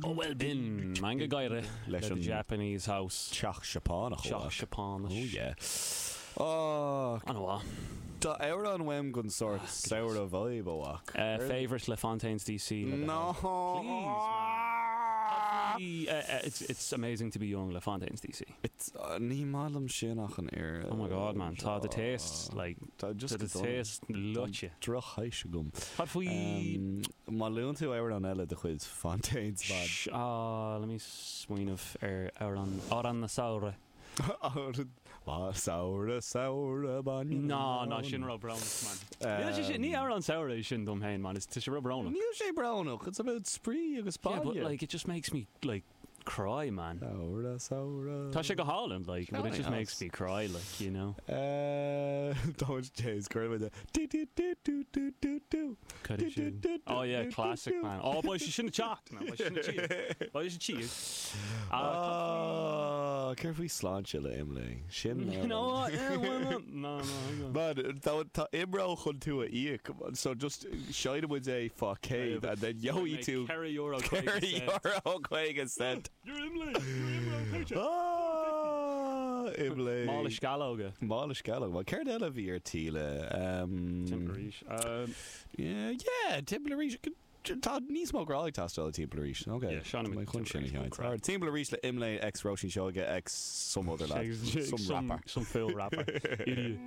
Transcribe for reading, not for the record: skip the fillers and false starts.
Bhuel b'in Meangadh Gáire Leis le an The Japanese House. Teach Seapánach. Teach Seapánach. Oh yeah. Oh. An-mhaith. Tá amhrán uaim den sórt samhradh vibe a mhac. Favourite le Fontaines DC le No. Please man. It's it's amazing to be young le Fontaines DC. It's ní maith liom sin ach an oiread. Oh my god man, tá do taste like Tá just tá do taste luaite. Drochthaois agam. Cad faoi Má luann tú amhrán eile de chuid Fontaines man. Sh ah let me smaoineamh ar amhrán amhrán na samhradh. Amhrán samhradh samhradh bainne Ná ná sin ró-bhrónach man. Níl sé sin ní amhrán samhraidh é sin dom féin man, is tá sé ró-bhrónach. Níl sé brónach, it's about spraoi agus Yeah but baile. like it just makes me like cry man. Samhradh samhradh. Tá sé go hálainn like but it just makes me cry like you know. Don't James cuir de do do do do do do do Cad é sin? Oh yeah, classic man. Oh beidh sé sin ag teacht man, beidh sin ag tíocht. Beidh sé tíocht. Ah, céard faoi sláinte le Imlé? Sin No, yeah, why not? No, no, hang on. Man, tá tá IMRO chun tú a íoc, so just seinnfidh muid é fá céad and then gheobhaidh tú €4 50. €4.50. You're Imlé! You're IMRO paycheck! Ah, Imlé. Mála sceallóga. Mála sceallóga. Well, céard eile a bhí ar tí le? Um, Timpeall arís. Um, Yeah, yeah, timpeall arís. Tá níos mó grá ag teastáil timpeall arís. Ok. Yeah, Sean Tá mé chun sin a timpeall arís. Alright, timpeall arís le Imlé x Róisín Seoige x some other lad. Some some rapper. Some fool rapper. Idiot.